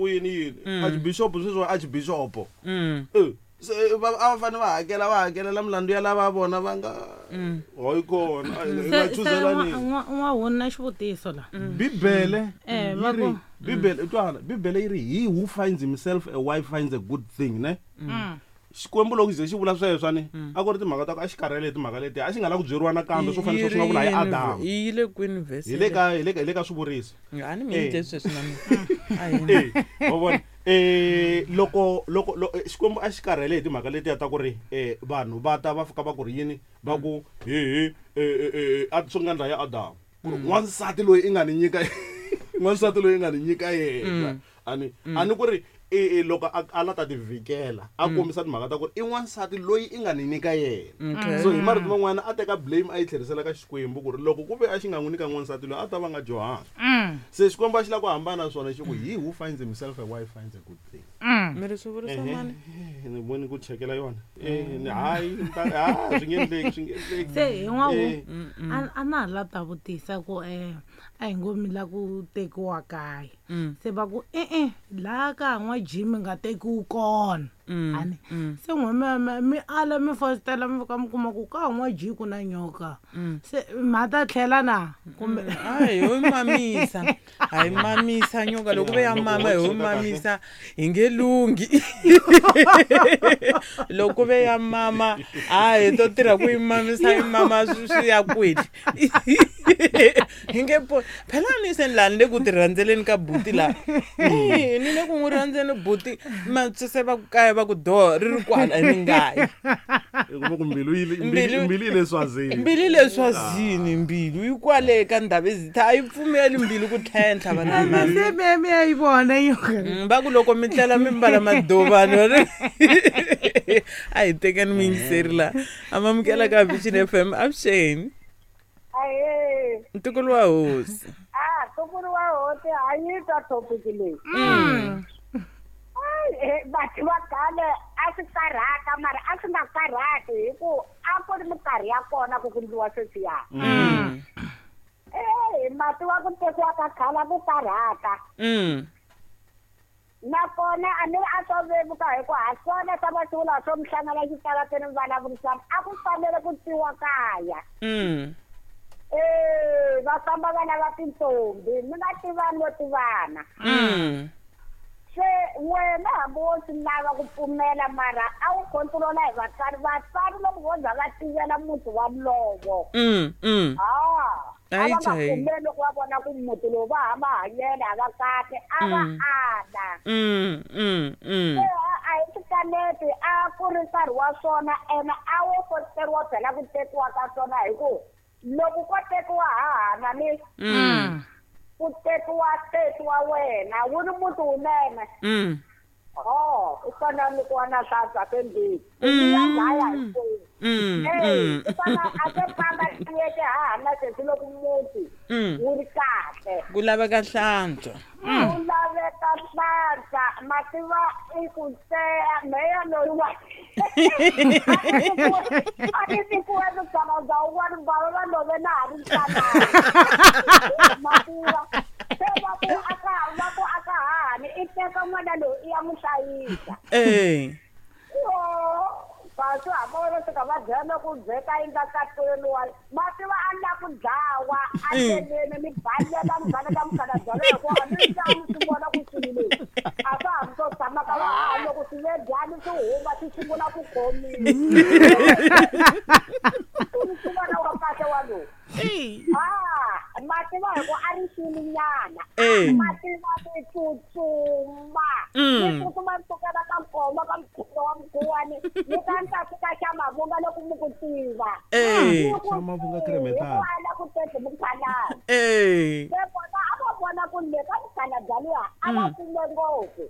ku yini yini archbishop sweswi archbishop se a va fanele va hakela va hakelela milandzu ya lava vona va nga hoyi kona hi nga chuzelani n'wahuni na xivutiso la bibele yi ri bibele twana bibele yi ri he who finds himself a wife finds a good thing ne xikwembu loko ze xi vula sweswo ni a ku ri timhaka ta ku a xi karhele hi timhaka leti a xi nga la ku byeriwa nakambe swo fanele swi nga vula hi adamu yi le kwini verse hi le ka hi le ka hi le ka swivuriso a ni mi yindle sweswi na mina wa vona loko loko xikwembu a xi karhele hi timhaka letiya ta ku ri vanhu va ta va fika va ku ri yini va ku hehe a swi nga ndla ya adamu ku ri n'wansati loyi i nga ni nyika n'wansati loyi i nga ni nyika yena ani ani ku ri loko a la ta ti vhikela a kombisa timhaka ta ku ri i n'wansati loyi i nga ni nyika yena so hi marito man'wana a teka blame a yi tlherisela ka xikwembu ku ri loko ku ve a xi nga n'wi nyika n'wansati loyi a ta va nga johanga se xikwembu a xi lava ku hambana na swona xi ku he who finds himself a wife finds a good thing mi ri swi vurisa mani ni voni ku chekela yona hayi swi nge endleki swi nge endleki se hi n'wahu a na ha la ta vutisa ku a hi ngo mi la ku tekiwa kaya se va ku e-e laha ka n'wa jimi nga tekiwi kona ani se n'we mi ala mi fositela mi fika mi kuma ku ka n'wa ji ku na nyoka se ma ta tlhela na kumbe a hi ho mamisa a hi mamisa nyoka loko ve ya mama hi ho mamisa hi nge lunghi loko ve ya mama a hi to tirha ku yi mamisa yi mama swi ya kwihi hi nge po phela ni se ni laha ni le ku ti rhandzeleni ka buti laha ni le ku n'wi rhandzeni buti se va ku kaya va ku do ri ri kwala ni ngayi ku mbilu mbilu yi le swazini mbilu yi le swazini mbilu yi kwale ka ndhawu ezitha a yi pfumeli mbilu ku tlhentlha vana se mi mi ya yi vona va ku loko mi tlela mi mbala madovani a hi tekani muyingiseri laha amamukela ka Vision FM avuxeni Ahee. Ntukulu wa hosi. Ah, ntukulu wa hosi a yi twa topic leyi. Batho va khale a swi karhata mara a swi nga karhati hi ku a ku ri minkarhi ya kona ku ku ndliwa sweswiya. Mati wa ku tekiwa ka khale a ku karhata. Nakona a ni a swo vevuka hi ku ha swona swa masiku lawa swo mi hlangana xitarateni mi vulavurisana a ku fanele ku tiwa kaya. Va famba va lava tintombi mi nga tivani vo tivana. Se wena hambi wo swi lava ku pfumela mara a wu controla hi vatswari vatswari loko vo za va tivela muti walowo a va nga pfumeli loko va vona ku muti lowu va ha mahanyelo a va kahle a va ala. A hi swikaneti a ku ri nkarhi wa swona ene a wo fositeriwa phela ku tekiwa ka swona hi ku loko ko tekiwa hahana ni ku tekiwa sesi wa wena wu ri muti wunene u fana ni ku wa na hlantswa sembili ya dlaya hinkwenu u fana a se famba yeke hahana sesi loko muti wu ri kahle ku laveka hlantswa ku laveka hlantswa mativa i ku tseya meya loyi wa a ni tikiwe mukhalabye wun'wana bava va love na ha ri ntsanana mativa se va ku aka va ku aka hahani i teka n'wana loyi i ya n'wi hlayisa kasi hambi vo fika va dlaya na ku byeka yi nga katweni wa mativa a la ku dlawa a ndleleni ni balela ni baleka mukhalabye loyi hikuva ni tani swi vona ku swilo leswi a swa ha ri swo tshama ka va loko swi ve dyani swi huma swi sungula ku khomiwa swi vona wa kahle wa lowu mativa hi ku a ri xilinyana mativa ti tsutsuma ni tsutsuma ni sukela ka nkoma ka mukhuva wa mukhuwani ni ta ni ta fika xa mavunga loko mi ku tiva xa mavunga kremetana ku ala ku tete mukhalabye se vona a va vona ku le ka mukhalabye luya a va kume ngopfu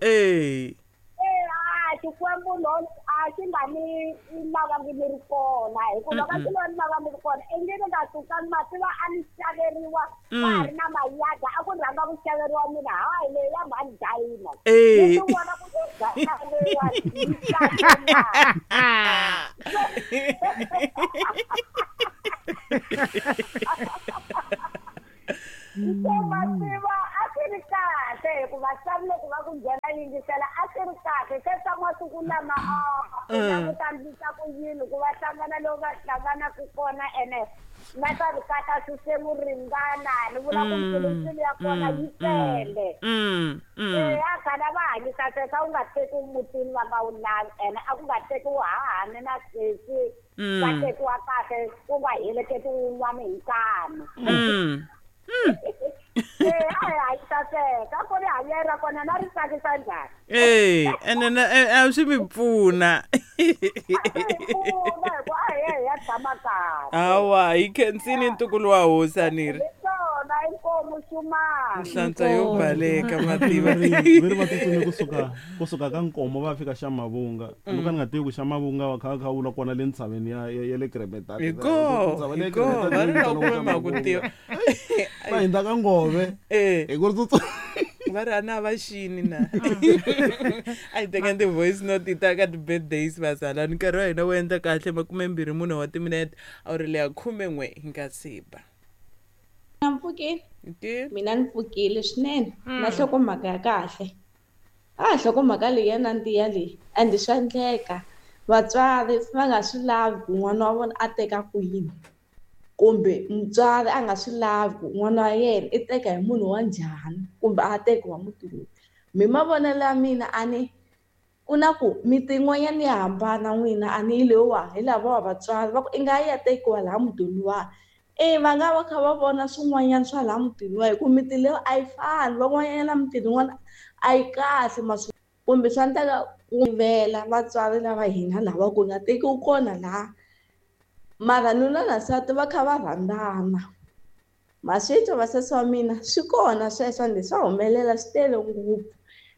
xikwembu no a xi nga ni lavangi ni ri kona hikuva ka xi lo ni lava ni ri kona i nge ni nga suka mativa a ni xaveriwa ka ha ri na mayada a ku rhanga ku xaveriwa mina hayi leyi ya mhani dayina ni vona ku dayina se mativa a swi ri kahle hikuva swa loko va ku byela yingisela a swi ri kahle se swa masiku lama a ku ndlisa ku yini ku va hlangana loko va hlanganaka kona ene na swa vukati a swi se mu ringana ni vula ku mpfilumpfilu ya kona yi tele. A khale a va hanyisa sweswo a wu nga tekiwi mutini va nga wu lavi ene a ku nga tekiwi hahani na sesi va tekiwa kahle ku nga heleketiwi wun'wana hi nkani. A hi hanyisa sweswo a ku ri hanyelo ra kona na ri tsakisa njhani. Ene a swi mi pfuna. Pfuna hi ku a hi ya hi ya tshama kahle. Hawa hi khensini ntukulu wa hosi a ni ri. Hi swona inkomu xumani. Nhlantswa yo baleka mativa. Va ri va tsutsumi kusuka ka Nkomo va fika xa Mavunga. Loko ni nga tivi ku xa Mavunga va kha kha vula kona le ntshaveni ya le Kremetart. Hiko, hiko, va ri loko va ma ku tiva. Va hindza ka Ngove. Hi ku ri tsutsuma. Va ri a na va xini na. A hi teka ti-voice note ta ka ti-birthdays vazalani. Nkarhi wa hina wu endla kahle 24 wa timinete a wu ri leya 11 hi nga siba. Na mpfukile. Mina ni pfukile swinene. Na nhlokomhaka ya kahle. A nhlokomhaka leyi ya nandziha leyi and swa endleka. Vatswari va nga swi lavi ku n'wana wa vona a teka kwini. Kumbe mutswari a nga swi lavi ku n'wana wa yena i teka hi munhu wa njhani kumbe a tekiwa muti lowu. Mi mavonelo ya mina a ni ku na ku miti yin'wanyana ya hambana n'wina a ni hi lowa hi lava vatswari va ku i nga ya tekiwa laha mutini wa. Va nga va kha va vona swin'wanyana swa laha mutini wa hi ku miti leyo a yi fani van'wanyana mutini yin'wana a yi kahle maswi kumbe swa endleka ku vela vatswari lava hina lava ku nga tekiwi kona laha. Mara nuna na nsati va kha va rhandzana. Maswitwa vasesi wa mina swi kona sweswo ende swa humelela swi tele ngopfu.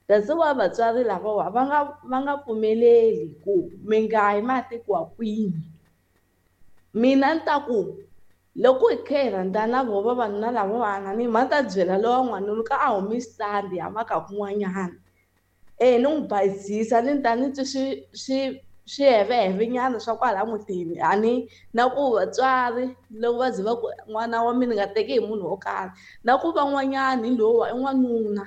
That's why vatswari lavawa va nga pfumeleli ku mi nga yi ma tekiwa kwini. Mina ni ta ku loko hi kha hi rhandzana vo vavanuna lavawani ni ma ta byela lowa n'wanuna ka a humi xitandi ya maka kun'wanyana. Ni n'wi bayizisa ni ta ni twi swi swihevehevenyana swa kwala mutini a ni na ku vatswari loko va ze va ku n'wana wa mina nga teki hi munhu wo karhi na ku van'wanyani hi lowa i n'wanuna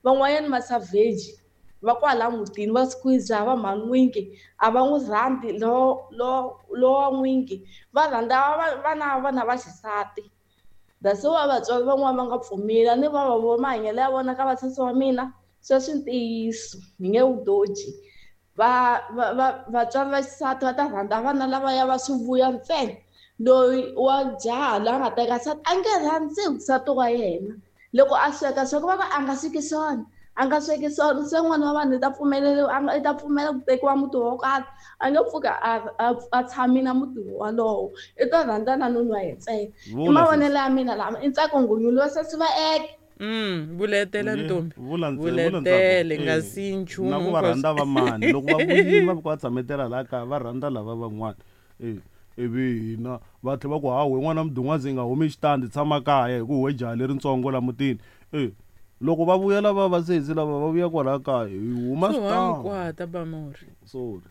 van'wanyani ma savage va kwala mutini va squeeze va mhani a va n'wi rhandzi lowa n'wingi va rhandza vana vana va xisati. That's why vatswari van'wana va nga pfumeli ni va va mahanyelo ya vona ka vasesi wa mina sweswi ntiyiso ni nge wu doji. Vatswari va xisati va ta rhandza vana lavaya va swi vuya ntsena loyi wa jaha loyi a nga teka nsati a nge rhandzi nsati wa yena loko a sweka sweka va va a nga sweki swona a nga sweki swona se n'wana wa vanhu i ta pfumeleriwa i ta pfumela ku tekiwa muti wo karhi a nge pfuka a tshami na muti wolowo i ta rhandza na nuna wa yena ntsena. I mavonelo ya mina lama i ntsako nghunyulo wa sesi va eke. Vuletela ntombi. Vuletele nga si nchumu. Na ku va rhandza va mani loko va vuyile va va tshametela laha kaya va rhandza lava van'wana. Ivi hina va tlhela va ku hawu n'wana mudun'wazi nga humi xitandi tshama kaya hi ku we jaha leritsongo la mutini. Loko va vuya lava va sesi lava va vuya kwala kaya hi huma xitandi. Kwata Bamori. Sorry.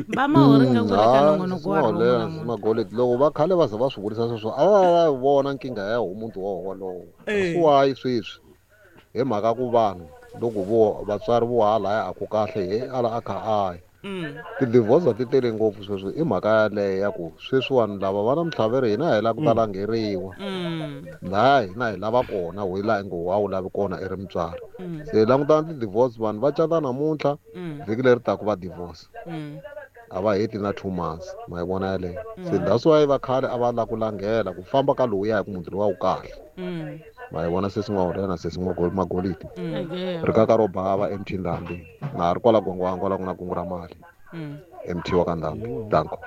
Bamori nga ku ka nongonoko wa rona. Magoleti loko va khale va ze va swi vurisa sweswo a va vona nkingha ya muntu wolowo. Swi wayi sweswi hi mhaka ku vanhu loko vo vatswari vo hala a ku kahle hi ala a kha a ya. Ti-divorce ti tele ngopfu sweswi i mhaka yaleyo ya ku sweswi vanhu lava va na mintlhavelo hina hi lava ku ta langeriwa laha hina hi lava kona we laha ngo wa wu lavi kona i ri mutswari. Se langutana ti-divorce vanhu va cata namuntlha vhiki leri taka va divorce a va heti na 2 months ma yi vona yaleyo. Se that's why va khale a va lava ku langhela ku famba ka lowuya hi ku muti lowa wu kahle. Ma yi vona sesi n'wa na sesi n'wa Magoliti ri kaka ro bava MT Ndhambi na ri kwala Gwangwangwa kwala ku na kungu ra mali MT wa ka Ndhambi danko.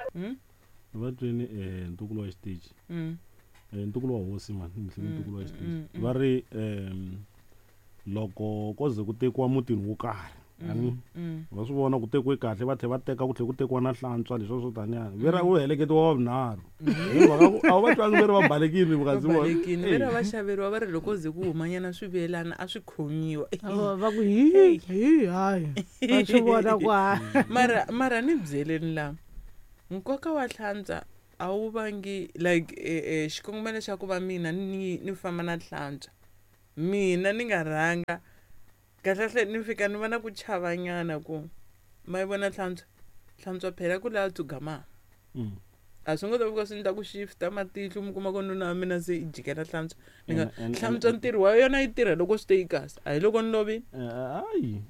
Va twini ntukulu wa xitichi ntukulu wa hosi mani ntukulu wa xitichi va ri loko ko ze ku tekiwa mutini wo karhi ani va swi vona ku tekiwe kahle va tlhela va teka ku tlhela ku tekiwa na hlantswa leswi swo taniya ve ra u heleketiwa wa vunharhu hi mhaka ku a va twangi ve ri va balekile vukazi vona balekile ve ra va xaveriwa va ri loko ze ku humanyana swivelana a swi khomiwa va ku hi hi hayi va swi vona ku mara ni byeleni la nkoka wa hlantswa a wu vangi like xikongomelo xa ku va mina ni famba na hlantswa Mina ni nga rhanga kahlekahle ni fika ni va na ku chavanyana ku ma yi vona hlantswa hlantswa phela ku laha tsugama. A swi ngo ta fika swi endla ku shifta matihlo mi kuma ku nuna wa mina se i jikela hlantswa ni nga hlantswa ntirho wa yona yi tirha loko swi te yi kahle a hi loko ni lovile. Hayi,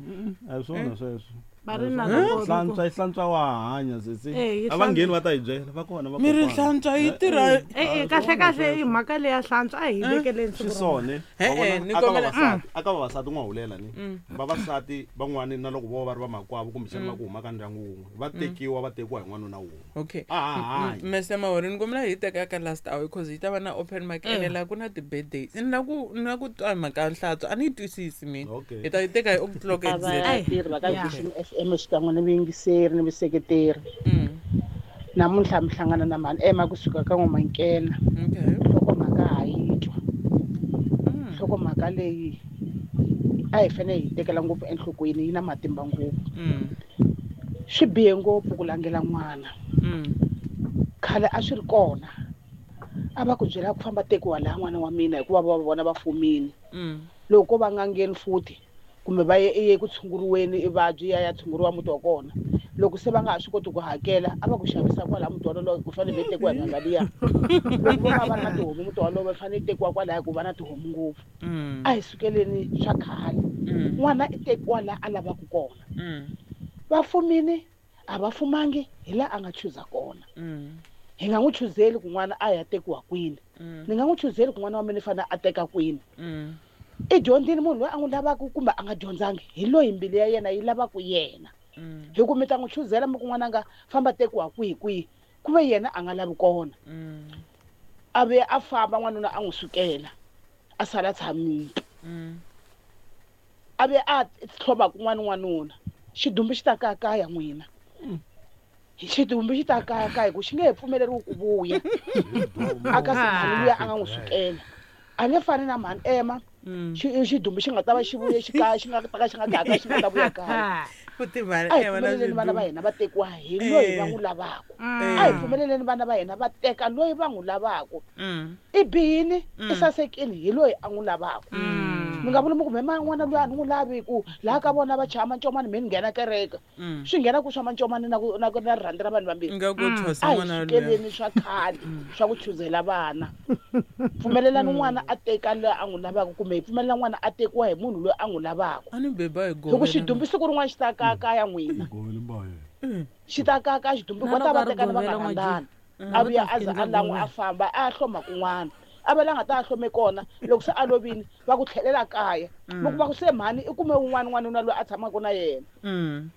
a hi swona sweswo. Va ri na loko hlantswa yi hlantswa wa hanya sesi. Eh, yi A va ngheni va ta hi byela va kona va mi ri kokwana. hlantswa yi tirha E-e, kahle kahle i mhaka leya hlantswa a hi vekeleni swi siku rin'wana. swone Eh, Wa eh, vona, ni aka kombela- vavasati aka vavasati n'wa hulela ni vavasati van'wani na loko vo va ri vamakwavo kumbexana va ku huma ka ndyangu wun'we va tekiwa va tekiwa hi n'wanuna wun'we. Okay. A ha hanyi. Mr Mahori ni kombela hi teka ka last hour because yi ta va na open mic ene laha ku na ti-birthdays ni la ku ni la ku twa hi mhaka ya hlantswa a ni yi twisisi mina. Okay. Hi ta yi teka hi o'clock a exactly. vatirhi va ka Yeah. Vision FM xikan'we ni vuyingiseri ni vuseketeri. Namuntlha mi hlangana na mhani Emma kusuka ka N'wamankena. Okay. Nhlokomhaka ha yi twa. Nhlokomhaka leyi a hi fanele hi tekela ngopfu enhlokweni yi na matimba ngopfu. Swi bihe ngopfu ku langela n'wana. Khale a swi ri kona. A va ku byela ku famba tekiwa laha n'wana wa mina hikuva va vona va fumile. Loko ko va nga ngheni futhi kumbe va ye i ye ku tshunguriweni i vabyi ya ya tshunguriwa muti wa kona. Loko se va nga ha swi koti ku hakela a va ku xavisa kwalaya muti wolowo ku fanele va tekiwa hi mhaka liya. Loko vo va va ri na tihomu muti wolowo va fanele tekiwa kwalaya ku va na tihomu ngopfu. A hi sukeleni swa khale. N'wana i tekiwa laha a lavaka kona. Va fumile a va fumangi hi laha a nga chuza kona. Hi nga n'wi chuzeli ku n'wana a ya tekiwa kwini. Ni nga n'wi chuzeli ku n'wana wa mina i fanele a teka kwini. I dyondzile munhu loyi a n'wi lavaka kumbe a nga dyondzangi hi loyi mbilu ya yena yi lavaka yena. Hi ku mi ta n'wi chuzela mi ku n'wana nga famba tekiwa kwihi kwihi ku ve yena a nga lavi kona. A vuya a famba n'wanuna a n'wi sukela a sala a tshamile. A vuya a tlhoma kun'wana n'wanuna xidumbu xi ta kayakaya n'wina. Xidumbu xi ta kayakaya hi ku xi nge he pfumeleriwi ku vuya a ka se mhani luya a nga n'wi sukela. A nge fani na mhani Emma xidumbu xi nga ta va xi vuye xi kaya xi nga ta ka xi nga kayakaya xi nga ta vuya kaya. Ku timhani A hi Emma na pfumeleleni vana va xidumbu. hina va tekiwa hi loyi va n'wi lavaka. A hi pfumeleleni vana va hina va teka loyi va n'wi lavaka. I bihile i sasekile hi loyi a n'wi lavaka. Mi nga vuli mi ku me n'wana luya a ni n'wi lavi ku laha ka vona va chaya mancomani me ni nghena kereke. Swi nghena ku swa mancomani na ku na ku na rirhandzu ra vanhu vambirhi. Nga ku thwasa A hi n'wana luya. sukeleni swa khale swa ku chuzela vana. Pfumelelani n'wana a teka loyi a n'wi lavaka kumbe hi pfumelela n'wana a tekiwa hi munhu loyi a n'wi lavaka. A ni beba hi Hi ku govela. xidumbu siku rin'wana xi ta kayakaya n'wina. Xi ta kayakaya xidumbu Na va ta loko va a ri tekana va nga govela n'wa rhandzani. Jim. A vuya Va ta a za fika a lan'wa a govela. famba a ya hloma kun'wana. A va la nga ta a hlome kona loko se a lovile va ku tlhelela kaya. Mi kuma ku se mhani i kume wun'wana n'wanuna loyi a tshamaka na yena.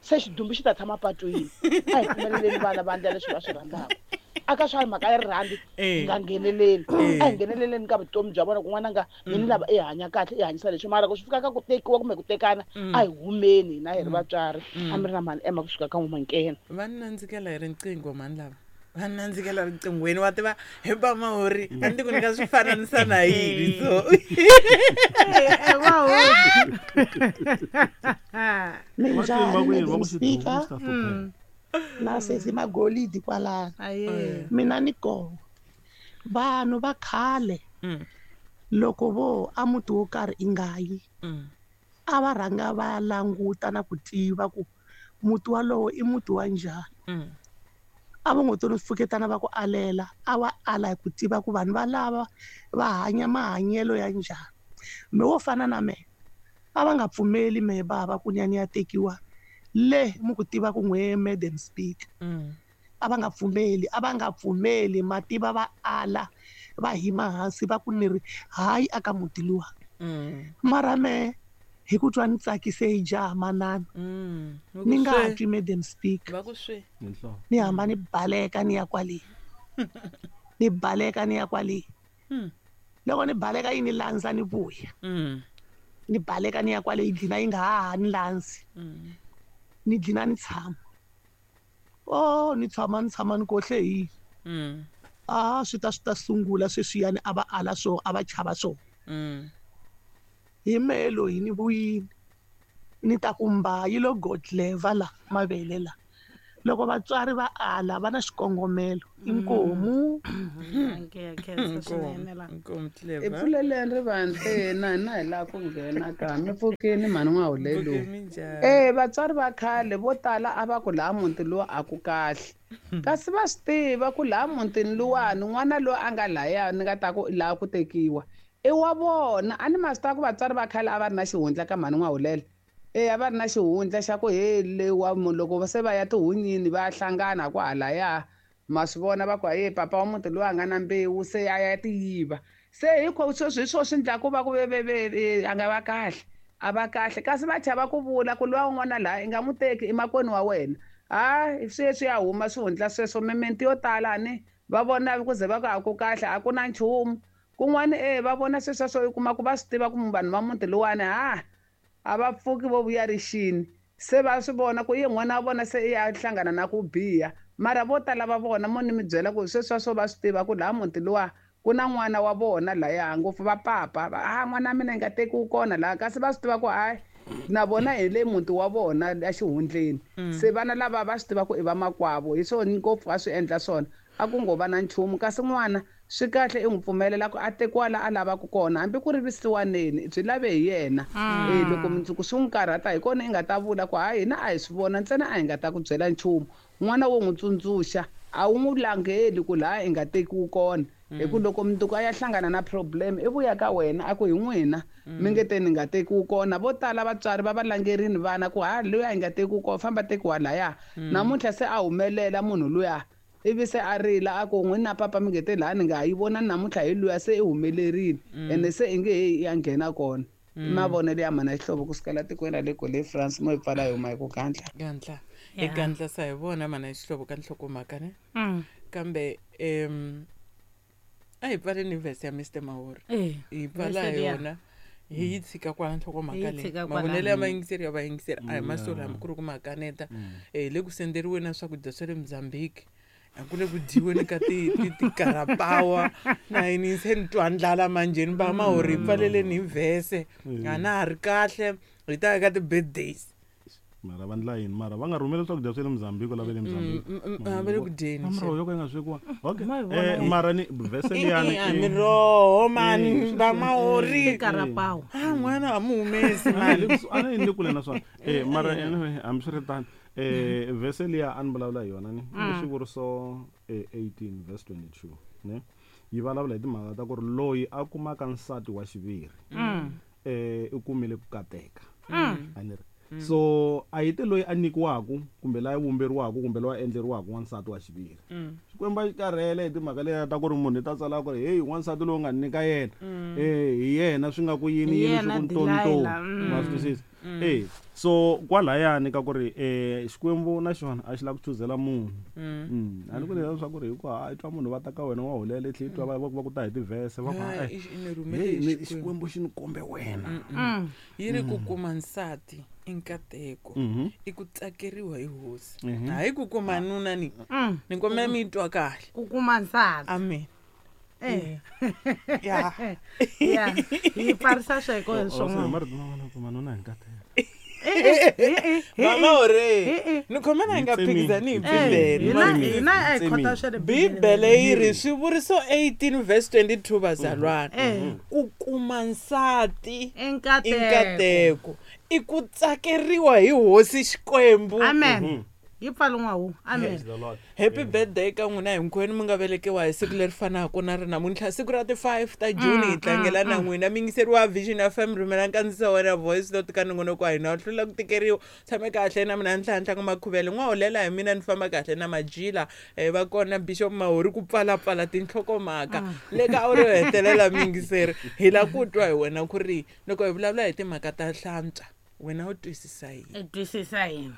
Se xidumbu xi ta tshama patwini. A hi pfumeleleni vana va endla leswi va swi rhandzaka. A ka swa mhaka ya rirhandzu hi nga ngheneleli. A hi ngheneleleni ka vutomi bya vona ku n'wana nga mina ni lava i hanya kahle i hanyisa leswi mara ku swi fika ka ku tekiwa kumbe ku tekana a hi humeni hina hi ri vatswari. A mi ri na mhani Emma kusuka ka N'wamankena. Va ni nandzikela hi riqingho mhani lava. Va ni nandzikela riqinghweni wa tiva hi ba Mahori a ni ti ku ni nga swi fananisa na yini so. Va Minjhani ku yini va Madam ku xidumbu Speaker xi ta hlupheka. na sesi Magolidi kwalano. Aye. Mina ni koho vanhu va khale loko vo a muti wo karhi i nga yi a va rhanga va languta na ku tiva ku muti walowo i muti wa njhani. A va ngo to no pfuketana va ku alela a va ala hi ku tiva ku vanhu valava va hanya mahanyelo ya njhani. Me wo fana na mehe a va nga pfumeli mehe bava ku ni ya ni ya tekiwa le mi ku tiva ku n'we Madam Speaker. A va nga pfumeli a va nga pfumeli mativa va ala va hima hansi va ku ni ri hayi aka muti luwa. Mara mehe hi ku twa ni tsakise hi jaha manana ni nga ha twi Madam Speaker. Va ku swe. Ni hamba ni baleka ni ya kwale. Ni baleka ni ya kwale. Loko ni baleka yi ni landza ni vuya. Ni baleka ni ya kwale yi dlina yi nga ha ha ni landzi. Ni dlina ni tshama. Oh ni tshama ni tshama ni kohle hi. A swi ta swi ta sungula sweswiyani a va ala swo a va chava swo. Hi mehe loyi ni vuyile ni ta ku mba yi lo godleva la mavele la. Loko vatswari va ala va na xikongomelo. Inkomu. I pfuleleni rivanti na hina hi lava ku nghena ka mi pfukini mhani n'wahulelo. Vatswari va khale vo tala a va ku laha muti lowu a ku kahle. Kasi va swi tiva ku laha mutini luwani n'wana loyi a nga laya ni nga ta ku laha ku tekiwa i wa vona. A ni ma swi tiva ku vatswari va khale a va ri na xihundla ka mhani n'wahulelo. A va ri na xihundla xa ku he lewa munhu loko se va ya tihunyini va hlangana ku halaya ma swi vona va ku haye papa wa muti loyi a nga na mbewu se a ya tiyiva. Se hikho sweswi hi swo swi endlaku va ku a nga va kahle, a va kahle kasi va chava ku vula ku luwa un'wana laha i nga n'wi teki i makwenu wa wena. Ha sweswi ya huma swihundla sweswo mimiti yo tala ni va vona ku ze va ku a ku kahle a ku na nchumu. Kun'wana va vona sweswo u kuma ku va swi tiva ku vanhu va muti luwani ha a va pfuki vo vuya rixini. Se va swi vona ku ye n'wana wa vona se i ya hlangana na ku biha. Mara vo tala va vona mo ni mi byela ku sweswo va swi tiva ku laha muti luwa ku na n'wana wa vona laya ngopfu va papa a n'wana wa mina i nga tekiwi kona laha kasi va swi tiva ku hayi na vona hi le muti wa vona ya xihundleni. Se vana lava va swi tiva ku i va makwavo hi swona ngopfu a swi endla swona a ku ngo va na nchumu. Kasi n'wana swi kahle i n'wi pfumelela ku a tekiwa la a lavaka kona hambi ku ri visiwaneni byi lave hi yena. Loko mundzuku swi n'wi karhata hi kona i nga ta vula ku hayi hina a hi swi vona ntsena a hi nga ta ku byela nchumu. N'wana wo n'wi tsundzuxa a wu n'wi langeli ku laha i nga tekiwi kona. Hi ku loko mundzuku a ya hlangana na problem i vuya ka wena a ku hi n'wina mi nge te ni nga tekiwi kona. Vo tala vatswari va va langerini vana ku ha luya i nga tekiwi kona famba tekiwa laya. Namuntlha se a humelela munhu luya ivi se a rila a ku n'wina papa mi nge te laha ni nga ha yi vona namuntlha hi luya se i humelerile ene se i nge he ya nghena kona. Mavonelo ya mana xihlovo kusukela tikweni ra le Gole France mo hi pfala hi huma hi ku gandla. Gandla. Hi gandla sa hi vona mana xihlovo ka nhlokomhaka ne. Kambe a hi pfaleni verse ya Mr Mahori. Hi pfala yona. Hi yi tshika kwala nhlokomhaka leyi. Mavonelo ya vayingiseri ya vayingiseri a hi masolo hambi ku ri ku makaneta. Le ku senderiweni na swakudya swa le Mozambique. A ku le ku dyiweni ka tikarapawa na yini se ni twa ndlala manjheni va Mahori hi pfaleleni hi vhese. A na ha ri kahle hi ta ya ka ti-birthdays. Mara va ndla yini mara va nga rhumeli swakudya swa le Mozambique lava le Mozambique. Va le ku dyeni. Miroho yo ka yi nga swekiwa. Okay. Mara ni vhese liyani miroho mani va Mahori. Tikarapawa. A n'wana a mu humesi mani. A ni le kule na swona. Mara anyway hambiswiritano vhese liya a ni vulavula hi yona ni i xivuriso 18 verse 22 ne yi vulavula hi timhaka ta ku ri loyi a kumaka nsati wa xiviri i kumile ku kateka. A ni ri so a yi te loyi a nyikiwaka kumbe loyi a vumberiwaka kumbe loyi a endleriwaka wansati wa xiviri. Xikwembu a xi karhele hi timhaka letiya ta ku ri munhu i ta tsala ku ri heyi wansati lowu nga nyika yena hi yena swi nga ku yini yini swi ku ntonto ma swi twisisa. So kwalayani ka ku ri Xikwembu na xona a xi lava ku chuzela munhu. A ni ku leswaku ri hikuva a twa munhu va ta ka wena wa hulela tlhe twa va ku ta hi tivhese va ku Xikwembu xi ni kombe wena. Yi ri ku kuma nsati i nkateko i ku tsakeriwa hi hosi. Hayi ku kuma nuna ni ni kombela mi twa kahle. Ku kuma nsati. Amen. Ya. Hi pfarisa sweko hi swona. Mara kuma nuna hi nkateko. Mama ore ni khomela hi nga phikizani hi Bibele. Hina a hi khota swa le Bibele yi ri swivuriso 18 verse 22 bazalwana. Ku kuma nsati i nkateko i ku tsakeriwa hi hosi Xikwembu. Amen. Yi pfala hu. Amen. Happy birthday ka n'wina hinkwenu mi nga velekiwa hi siku leri fanaka na ri namuntlha siku ra ti 5 ta June hi tlangela na n'wina mi yingiseriwa Vision FM rhumela nkandziso wa wena voice note ka nongonoko wa hina u hlula ku tikeriwa tshame kahle na mina Nhlanhla ka Makhuvele n'wa hulela hi mina ni famba kahle na Majila va kona Bishop Mahori ku pfalapfala tinhlokomhaka le ka awara yo hetelela mi yingiseri hi la ku twa hi wena ku ri loko hi vulavula hi timhaka ta hlantswa wena u twisisa yini? U twisisa yini?